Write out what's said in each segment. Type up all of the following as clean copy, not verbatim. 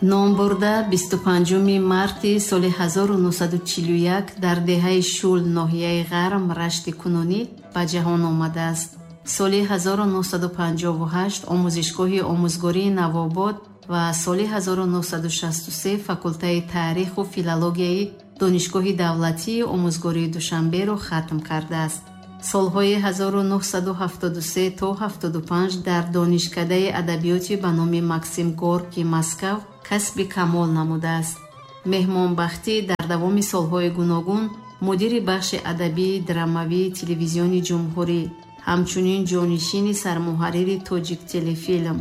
Номбурда 25 марти соли 1941 дар деҳаи Шул, ноҳияи Ғарм, Рашти кунунӣ ба ҷаҳон омадааст. Соли 1958 омӯзишгоҳи омӯзгории Навобод ва соли 1963 факултаи таъриху филологияи Донишгоҳи давлатии омӯзгории Душанберо хатм кардааст. Солҳои 1973 то 75 дар Донишкадаи адабиёти ба номи Максим Горький, Москав, касби камол намудааст. Меҳмонбахтӣ дар давоми солҳои гуногун мудири бахши адабии драмавии Телевизиони Ҷумҳурӣ, ҳамчунин ҷонишини сармуҳаррири Тоҷиктелефилм,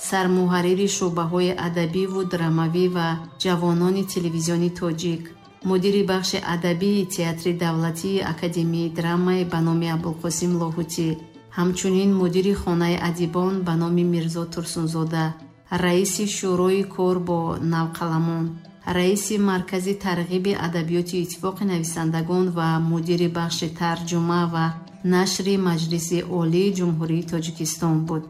сармуҳаррири шӯъбаҳои адабиву драмавӣ ва ҷавонони Телевизиони Тоҷик, мудири бахши адабии Театри давлатии академияи драмаи ба номи Абулқосим Лоҳутӣ, ҳамчунин мудири Хонаи адибон ба номи Мирзо Турсунзода, раиси Шӯрои кор бо навқаламон, раиси Маркази тарғиби адабиёти Иттифоқи нависандагон ва мудири бахши тарҷума ва нашри Маҷлиси Олии Ҷумҳурии Тоҷикистон буд.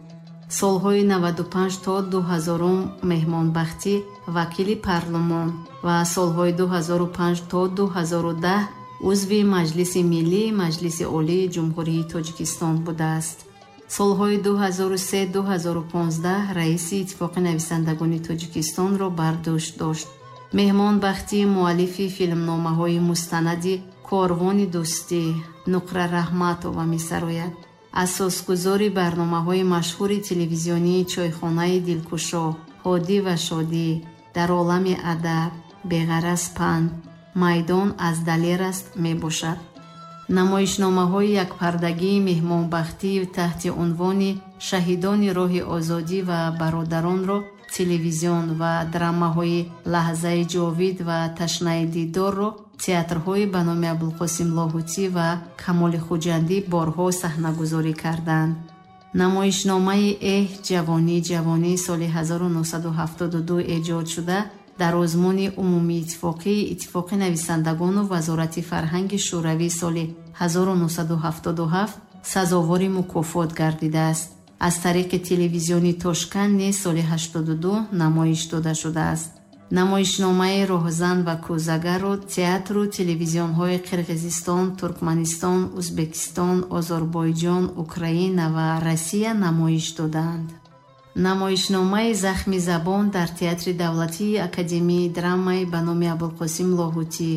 Солҳои 95 то 2000 Меҳмонбахтӣ вакили парлумон ва солҳои 2005 то 2010 узви Маҷлиси Миллии Маҷлиси Олии Ҷумҳурии Тоҷикистон будааст. Солҳои 2003-2015 раиси Иттифоқи нависандагони Тоҷикистонро бар дӯш дошт. Меҳмонбахтӣ муаллифи филмномаҳои мустанади «Корвони дӯстӣ», «Нуқра Раҳматова месарояд», асосгузори барномаҳои машҳури телевизионии «Чойхонаи дилкушо», «Ҳодӣ ва шодӣ», «Дар олами адаб», «Беғараз панд», «Майдон аз далер аст» мебошад. Намоишномаҳои якпардагии Меҳмонбахтӣ таҳти унвони «Шаҳидони роҳи озодӣ» ва «Бародаронро» телевизион ва драмаҳои «Лаҳзаи ҷовид» ва «Ташнаи дидорро» театрҳои ба номи Абулқосим Лоҳутӣ ва Камоли Хуҷандӣ борҳо саҳнагузорӣ карданд. Намоишномаи «Эҳ, ҷавонӣ, ҷавонӣ» соли 1972 эҷод шуда, дар озмуни умумииттифоқии Иттифоқи нависандагону Вазорати фарҳанги Шӯравӣ соли 1977 сазовори мукофот гардидааст. Аз тариқи телевизиони Тошканд низ соли 82 намоиш дода шудааст. Намоишномаи «Роҳзан ва кӯзагарро» театру телевизионҳои Қирғизистон, Туркманистон, Узбекистон, Озарбойҷон, Украина ва Россия намоиш додаанд. Намоишномаи «Захми забон» дар Театри давлатии академияи драмаи ба номи Абулқосим Лоҳутӣ,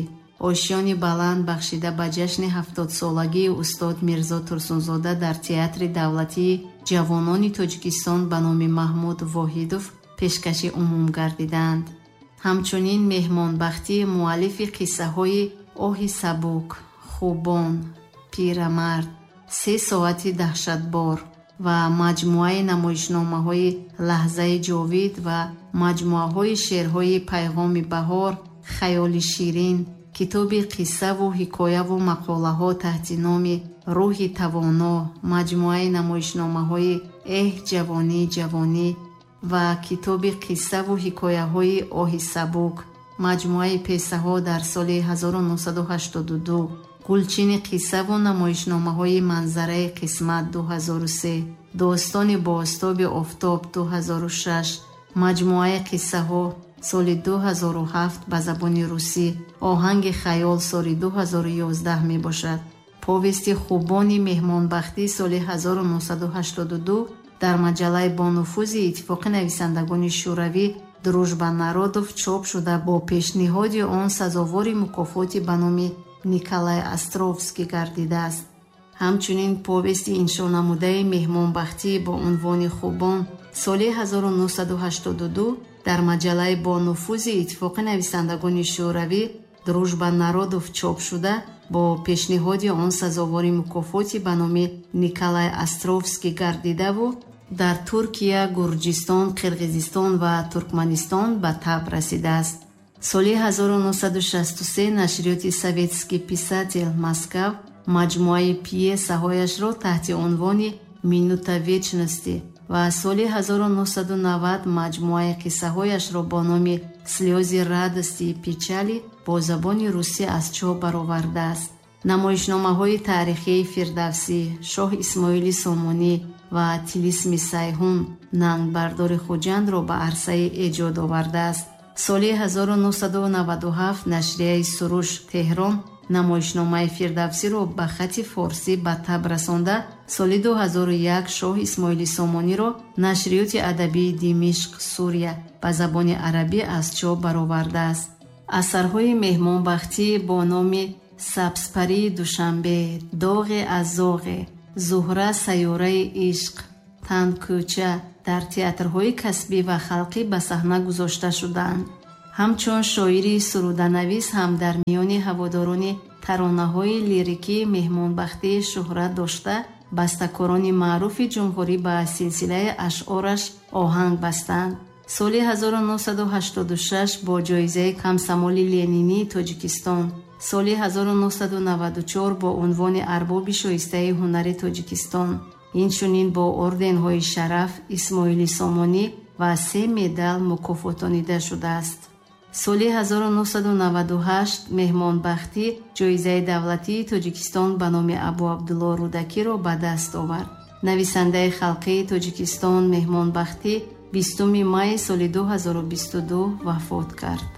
«Ошёни баланд» бахшида ба ҷашни 70-солагии устод Мирзо Турсунзода дар Театри давлатии ҷавонони Тоҷикистон ба номи Маҳмуд Воҳидов пешкаши умум гардидаанд. Ҳамчунин Меҳмонбахтӣ муаллифи қиссаҳои «Оҳи сабук», «Хубон», «Пирамард», «Се соати даҳшатбор» ва маҷмӯаи намоишномаҳои «Лаҳзаи ҷовид» ва маҷмӯаҳои шеърҳои «Пайғоми баҳор», «Хаёли ширин», китоби қиссаву ҳикояву мақолаҳо таҳти номи «Рӯҳи тавоно», маҷмӯаи намоишномаҳои «Эҳ, ҷавонӣ, ҷавонӣ» ва китоби қиссаву ҳикояҳои «Оҳи сабук», маҷмӯаи песаҳо дар соли 1982, гулчини қиссаву намоишномаҳои «Манзараи қисмат» 2003, «Достони бозтоби офтоб» 2006, маҷмӯаи қиссаҳо соли 2007 ба забони русӣ «Оҳанги хаёл» соли 2011 мебошад. Повести «Хубони Меҳмонбахтӣ» соли 1982 дар маҷаллаи бонуфузи Иттифоқи нависандагони Шӯравӣ «Дружба народов» чоп шуда, бо пешниҳоди он сазовори мукофоти ба номи Николай Островский гардидааст. Ҳамчунин повести иншонамудаи Меҳмонбахтӣ бо унвони «Хубон» соли 1982 дар маҷаллаи бонуфузи Иттифоқи нависандагони Шӯравӣ «Дружба народов» чоп шуда, бо пешниҳоди он сазовори мукофоти ба номи Николай Островский гардидаву дар Туркия, Гурҷистон, Қирғизистон ва Туркманистон ба таб расидааст. Соли 1963 нашриёти «Советский писатель», Москав, маҷмӯаи пиесаҳояшро таҳти унвони «Минута вечности» ва соли 1990 маҷмӯаи қиссаҳояшро бо номи «Слёзы радости и печали» бо забони русӣ аз чоп баровардааст. Намоишномаҳои таърихии «Фирдавсӣ», «Шоҳ Исмоили Сомонӣ» ва «Тилисми Сайҳун» нангбардори Хуҷандро ба арсаи эҷод овардааст. Соли 1997 нашрияи Суруш, Теҳрон, намоишномаи Фирдавсиро ба хати форсӣ ба таб расонда, соли 2001 Шоҳ Исмоили Сомониро нашриёти адабии Димишқ, Сурия, ба забони арабӣ аз чоп баровардааст. Асарҳои Меҳмонбахтӣ бо номи Сабзпарии Душанбе, Доғе аз зоғе, Зуҳра сайёраи ишқ, Тандкӯча дар театрҳои касбӣ ва халқӣ ба саҳна гузошта шудаанд. Ҳамчун шоири суруданавис ҳам дар миёни ҳаводорони таронаҳои лирикӣ Меҳмонбахтӣ шӯҳрат дошта, бастакорони маъруфи ҷумҳурӣ ба силсилаи ашъораш оҳанг бастанд. Соли 1986 бо ҷоизаи Комсомоли Ленинии Тоҷикистон, соли 1994 бо унвони Арбоби шоистаи ҳунари Тоҷикистон, инчунин бо орденҳои Шараф, Исмоили Сомонӣ ва се медал мукофотонида шудааст. Соли 1998 Меҳмонбахтӣ ҷоизаи давлатии Тоҷикистон ба номи Абу Абдулло Рӯдакиро ба даст овард. Нависандаи халқии Тоҷикистон Меҳмонбахтӣ 20 майи соли 2022 вафот кард.